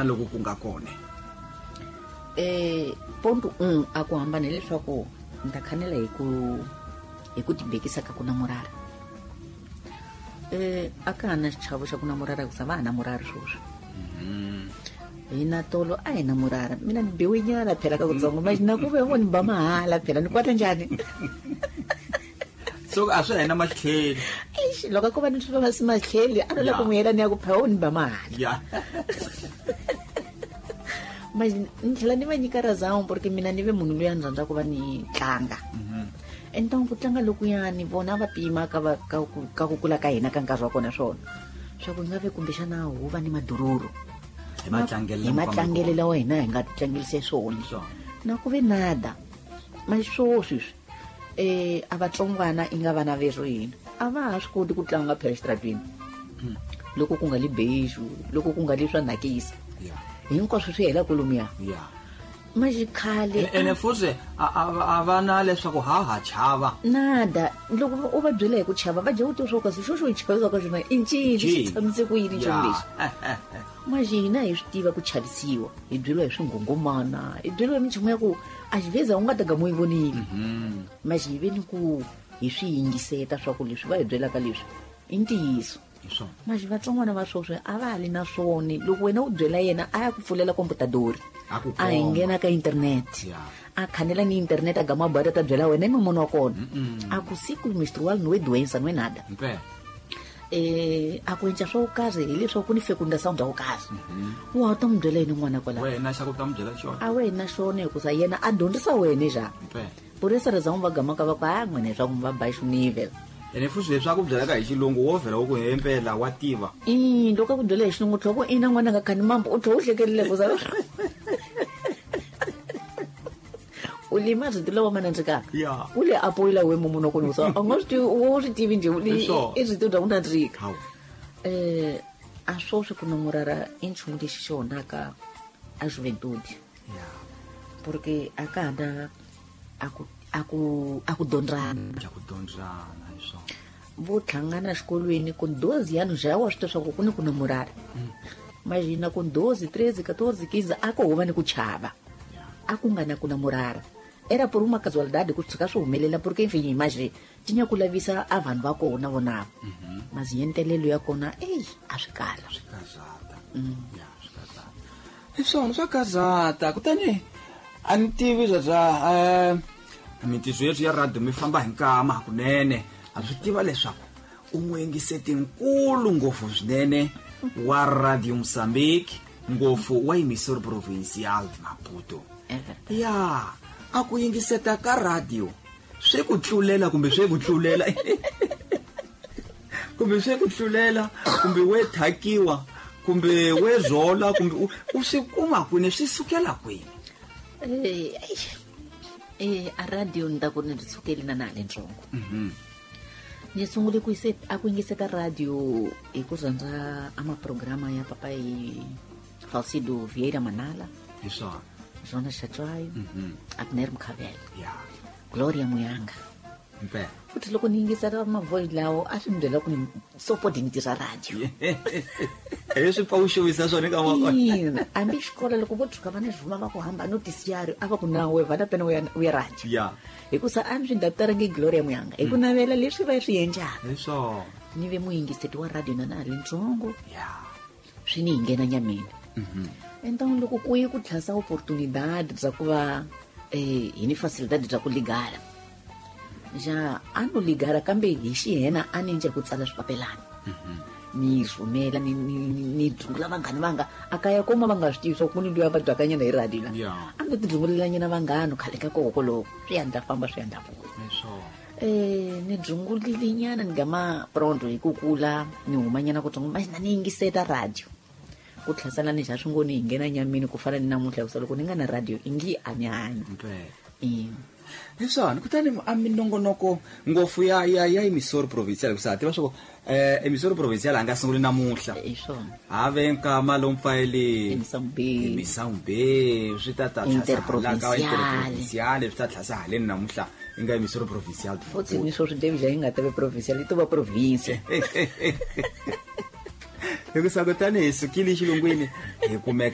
Loku ku nga kona. Ponto 1, a ku hambana hileswaku ni ta khanela hi ku tibekisa ka ku namorara. A ka ha na xichavo xa ku namorara, hikusa va ha namorari sweswi. Hina tolo a hi namorara. Mina ni biwe nyana phela ka kutsongo, ma na ku ve vo ni ba mahala phela, ni kwata njhani? So a swi hena matlheli. Eish, loko a ko va ni swi va si matlheli, a no la ku n'wi yela ni ya ku phela wo ni ba mahala. Mas ni tlhela ni va nyika razão, porque mina ni ve munhu loyi a ni rhandza ku va ni tlanga. Então ku tlanga lokuyani vona va pima ka ku kula ka hina ka nkarhi wa kona, swona swa ku nga ve kumbexana hu va ni madururu. Hi matlangelo. Hi matlangelo lawa hina hi nga tlangelise swona. Swona. Na ku ve nada. Mas swo sweswi a vatsongwana i nga vana verhu hina a va ha swi koti ku tlanga phela xitaratweni, loko ku nga li beijo, loko ku nga li swa nakisa, hinkwaswo swi hela kolomuya. Mas khale Ene futhi a va na leswaku ha ha chava. Nada. Loko u va byela hi ku chava, va dya u tiva swo kasi xo xo hi chavisa ka xona i ncini, xi Ncini. Tshamise ku yini nchumu lexi. Mas hina hi swi tiva ku chavisiwa, hi byeriwa hi swinghongomana, hi byeriwa hi minchumu ya ku a xiveza u nga ta gama u yi vonile. Mas hi ve ni ku hi swi yingiseta swa ku leswi va hi byelaka leswi i ntiyiso. Hi swona. Mas vatsongwana va sweswi a va ha li na swona. Loko wena u byela yena, a ya ku pfulela komputadori, A ku a hi komba. nghena ka internet, a khanela ni internet, a gama bada ta byela wena i mumunu wa kona a ku ciclo menstrual no é doença, não é nada. Mpela. A ku enca swo karhi hileswaku ku ni fecundação bya ku karhi, wa ta n'wi byela yini n'wana kwalaho? Wena xa ku ta n'wi byela xona. A wena xona, hikusa yena a dyondzisa wena xa. Mpela. Por essa razão va gamaka va ku a n'wina leswaku mi va baixo nível. Ene futhi leswi a ku byelaka hi xilungu, wo vhela wo ku hempela wa tiva. I loko a ku byela hi xilungu, tlhoko ina n'wana nga khani mambo, u tlhe u hlekelele kusa u lima rito lawa ma nandzikaka. U le apoyila we mumunhu wa kona, kusa a nga swi tivi, wo swi tivi njhe? Hi swona. I rito bya ku nandzika. Hawu. A swoswi ku namorara i nchumu lexi xi onhaka a juventude, porque a ka ha na a ku dyondzana. Xa ku dyondzana, hi swona. Vo hlangana exikolweni ku 12 anos já wa swi tiva swa ku ku ni ku namorara. Imagina com 12, 13, 14, 15, a ku huva ni ku chava, a ku nga na ku namorara. Era por uma casualidade ku tshuka swi humelela, porque enfim, imagine tinya ku lavisa a vanhu va kona vonavo, mas yentelelo ya kona eyi a swi kala. Swi kazata. Ya, swi kazata, hi swona, swa kazata. Kutani a ni tivi bya mintirho yeswi ya radio mi famba hi nkama hakunene. A swi tiva leswaku u n'wingiseti nkulu ngopfu swinene wa Radio Mozambique, ngopfu wa Emissora Provincial de Maputo. É verdade. Ya, a ku yingiseta ka radio swi ku tlulela kumbe swi ku tlulela kumbe swi ku tlulela kumbe we thakiwa kumbe we zola kumbe u swi kuma kwini, swi sukela kwini? Eish. A radio ni ta ku ni ri sukeli na na ha le ntsongo. Ni sungule ku yise a ku yingiseta radio hi ku rhandza a maprograma ya papai Falcido Vieira Manala, Hi swona. Jonas Chatswayo, Abner Mkhabela, Gloria Muyanga. Mpela. Futhi loko ni yingisela mavoice lawo, a swi ni byela ku ni sopodi ni tirha radio. Hi swi pfa u xavisa swona eka wa. Ina, hambi xikolo loko vo tshuka va ni rhuma va ku hamba noticiário, a va ku na we vale a pena u ya radio. Hikusa a ni swi ndaptarangi Gloria Muyanga hi ku navela leswi va swi endlaka. Hi swona. Ni ve muyingiseti wa radio na na ha ri ntsongo. Swi ni hi nghena nyameni. Então loko ku ye ku tlhasa oportunidade bya ku va hi ni facilidade bya ku ligala ja, a no ligala, kambe hi xihena a ni endla ku tsala swipapelana, ni rhumela, ni dzungula vanghani vanga a kaya koma va nga swi tivi swa ku ni luya va byakanyana hi radio la. A ni ti dzungulelanyana vanghano khale ka koko loko swi ya ndla famba, swi ya ndla vuya. Hi swona. Ni dzungulile nyana, ni gama pronto hi ku kula ni humanyana kutsongo, mas na ni yingiseta radio ku tlhasana ni xa swi ngo ni hi nghena nyamini ku fana ni namuntlha, hikusa loko ni nga na radio i ngi a ni hanyi. Mpela. Ina. Hi swona. Kutani a minongonoko ngopfu ya Emissora Provincial, hikusa ha tiva swa ku Emissora Provincial a nga sunguli namuntlha. Hi swona. Have nkama lomu fayele. Emissão B. Emissão B, swi ta ta Interprovincial. Interprovincial, swi ta tlhasa haleni namuntlha i nga Emissora Provincial. Futhi ni swoswi David yi nga tave provincial, yi to va provincia. Hikusa kutani hi sukile xilungwini hi kumeka.